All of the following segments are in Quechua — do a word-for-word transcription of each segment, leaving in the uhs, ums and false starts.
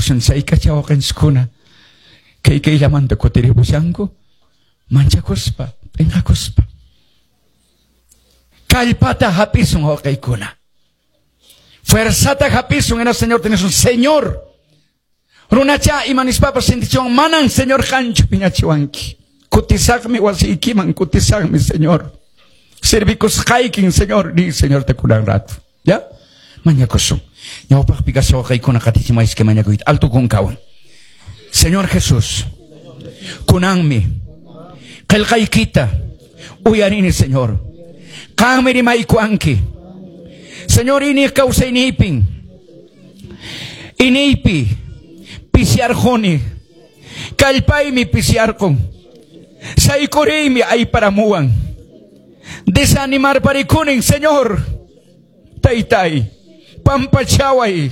Mañakusun chaykacha wawqinchiskuna kay kayllamanta kutiripushanku manchakuspa p'inqakuspa. Kallpata hap'isun wawqiykuna. Fuerzata hap'isun hina Señor tenisun Señor. Runacha imanispapas sintichiwan manan Señor qanchu phiñachiwanki. Kutisaqmi wasiykiman kutisaqmi Señor. Servikusqaykin Señor ni Señor te kunan rato. ¿Ya? Mañakusun. Ñawpaqpi kasqa wawqiykuna qatichimaychis mañakuyta alto kunkawan. Señor Jesús, kunanmi qillqaykita uyarini Señor. Qanmi rimaykuwanki. Señor iñiq kawsayniypin iniypi pisiarquni kallpaymi pisiarqun saykuriymi ayparamuwan desanimarparikunin Señor taytay pampachaway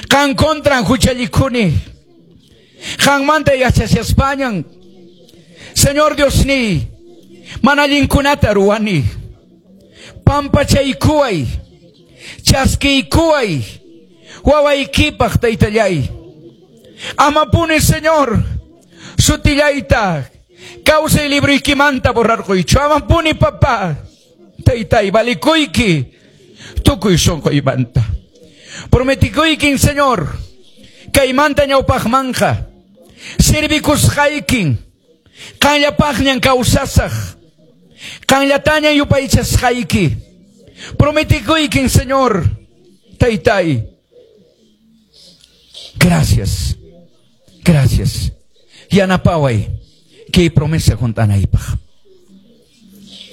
qan contran huchallikuni qanmanta yachashaspañan Señor Dios ni mana allinkunata ruwani pampachaykuway chaskiykuway wawaykipaq taytallay amapuni Señor sutillayta kawsay libruykimanta borrarquychu amapuni papá taytay valikuyki tukuy sunquymanta prometikuykin Señor kaymanta ñawpaqmanqa servikusqaykin qanllapaqñan kawsasaq qanllatañan yupaychasqayki prometikuykin Señor taytay. Gracias, gracias. Yanapaway kay promesa hunt'anaypaq.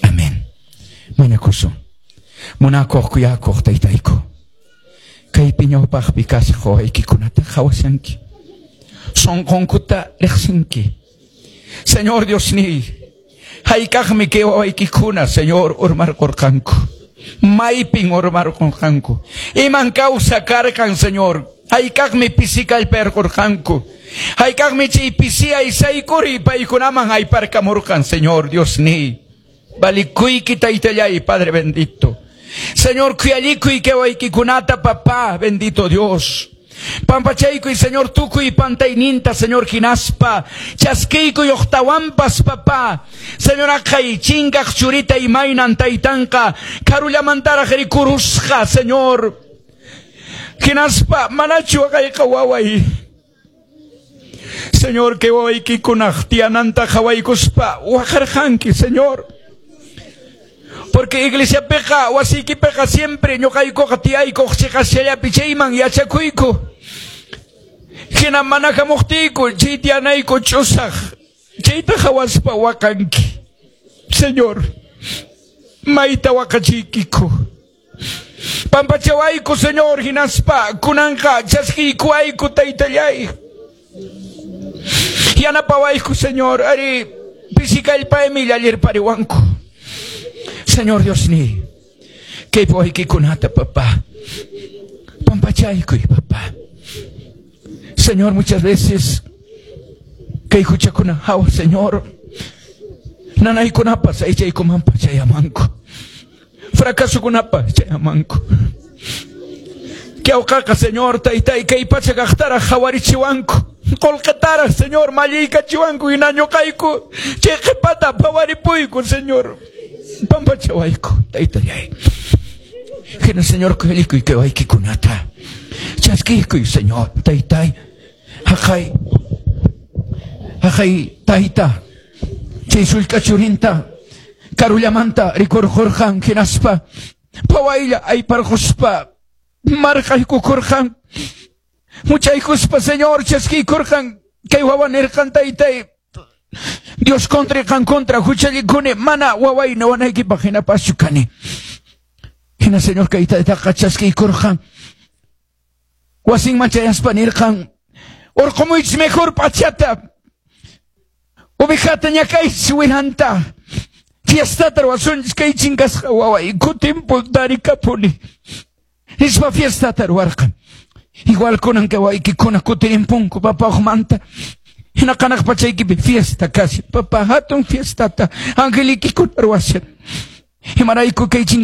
Amén. Mañakusun. Munakuq kuyakuq taytayku. Kaypi ñawpaqpi kashaq wawaykikunata qhawashanki. Sunqunkuta riqsinki. Señor Dios niy, hayk'aqmi kay wawaykikuna, Señor, urmarqurqanku. Maypin urmarqurqanku. Iman kawsa karqan, Señor. Hayk'aqmi pisi kallparqurqanku. Hayk'aqmi chay pisiyay saykuri paykunaman ayparkamurqan, Señor Dios niy. Valikuyki taytallay, Padre bendito. Señor, khuyallikuy kay wawaykikunata, papá, bendito Dios. Pampachaykuy, Señor, tukuy pantayninta, Señor, hinaspa. Chaskiykuy uqtawampas, papá. Señor, aqhay chinkaq churita imaynan taytanqa. Karullamantaraq rikurusqa, Señor. Hinaspa, manachu waqayqa waway. Señor, kay wawaykikunaq tiyananta qhawaykuspa waqarqanki, Señor. Porque iglesiapiqa, wasiykipiqa siempre ñuqaykuqa tiyaykuq chiqasllapi chayman yachakuyku. Hina mana hamuqtiyku chay tiyanayku ch'usaq. Chayta qhawaspa waqanki. Señor, mayta waqachiykiku. Pampachawayku, Señor, hinaspa kunanqa chaskiykuwayku taytallay. Yanapawayku, Señor, ari pisi kallpaymi llallirpariwanku. Señor Dios ni, kay wawaykikunata, papá. Pampachaykuy, papá. Señor, muchas veces kay huchakuna hawa, Señor. Nanaykunapas aychaykumanpas chayamanku. Fracasokunapas chayamanku. Kawqaqa, Señor, taytay kay pacha kaqtaraq qhawarichiwanku. Qullqitaraq, Señor, malliykachiwanku hina ñuqayku chay qhipata phawaripuyku, Señor. Pampachawayku, taytallay. Hina, Señor, khuyallikuy kay wawaykikunata. Chaskiykuy, Señor, taytay. Haqay, haqay, tayta. Chay sullk'a churinta karullamanta rikurqurqan hinaspa phawaylla ayparquspa marqaykukurqan. Muchaykuspa, Señor, chaskiykurqan kay wawa nirqan taytay. Dios contra qan contra huchallikuni mana waway wanaykipaq hinapaschu kani. Hina, Señor, kay taytaqa chaskiykurqan. Wasinman chayaspa nirqan urqumuychis mejor p'achata. Ovejata ñakaychis wiranta. Fiestata ruwasunchis kay chinkasqa waway kutinpun tarikapuni. Nispa fiestata ruwarqan. Igual kunan kay wawaykikuna kutirimpunku papá uqmanta. Hina qanaq pachaykipi fiesta kashan. Papá hatun fiestata angelikikuna ruwashan. Imarayku kay